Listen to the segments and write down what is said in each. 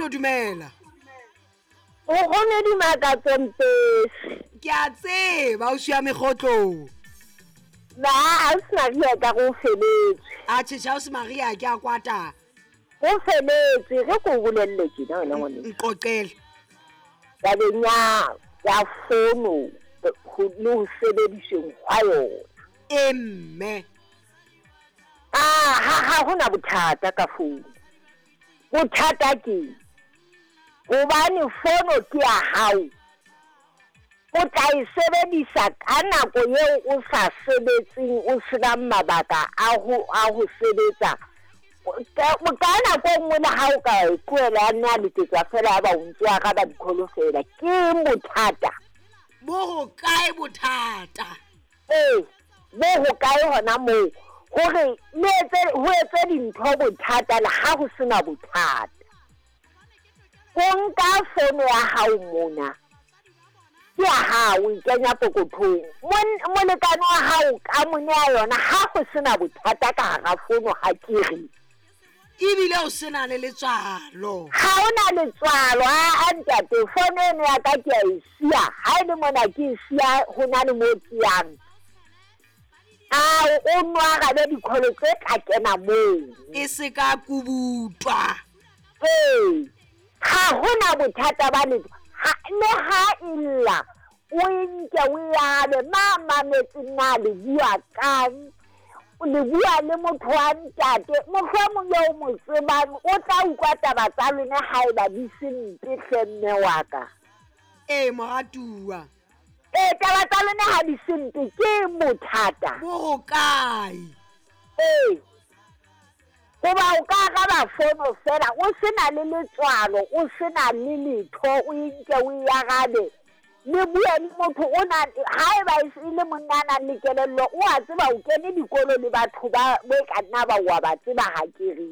Nkgono dumela. Nkgono Dimakatso Mpesi. Ke a tseba o siya megotlong. Ba Ausi Maria ka re o feletswe. Atjhe tjhe Ausi Maria ke a kwata. O feletswe ge ko o bolelle tjena wena ngwaneso. Nqoqele. Tabeng ya ya fono le ho sebedisweng hwa yona. E mme. Ah ha ha hona bothata ka founu. Bothata keng? Hobane fono ke ya hao, o tla e sebedisa ka nako eo o sa sebetseng, o senang mabaka a ho a ho sebetsa. Ka nako e nngwe le ha o ka e tlohela ya nna letsetsa feela ya ba o ntso araba di-call feela. Ke eng bothata? Bo hokae bothata? Ee, bo hokae hona moo hore le etse ho etse dintho bothata le ha ho sena bothata. O nka fono ya hao mona, ke ya hao, o e kenya pokothong. Molekane wa hao ka mo nea yona ha ho sena bothata ka hara fono ha ke re. Ebile o sena le letswalo. Ha o na letswalo, aa ntate, fono eno ya ka ke a e siya. Ha e le mona ke e siya ho na le moo ke yang. A o nno arabe dikholo tse tla kena moo. E se ka kubutwa. Ee, ha ho na bothata ba letho. Ha, le ha e lla, o e nke o e arabe. Ma mametseng na le bua kang? Le bua le motho wa ntate, mohlomong eo o mo tsebang, o tla utlwa taba tsa lona haeba di se mpe hle mme wa ka. Ee, moratuwa. Ee, taba tsa lona ha di se mpe, ke eng bothata? Bo hokae? Ee, hoba o ka araba fono feela o se na le letswalo, o se na le letho, o e nke o e arabe. Le bue le motho o na, haeba e se e le monna a nang le kelello, o a tseba o kene dikolo le batho ba bo e ka nna ba o a ba tseba ha ke re.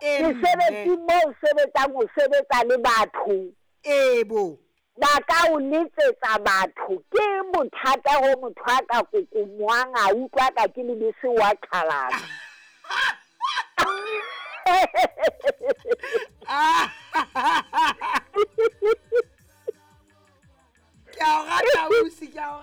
Mesebetsing moo o sebetsang o sebetsa le batho. Ee bo. Ba ka o letsetsa batho. Ke eng bothata ho motho a ka kokomoang a utlwa ka ke lebese wa qhalana?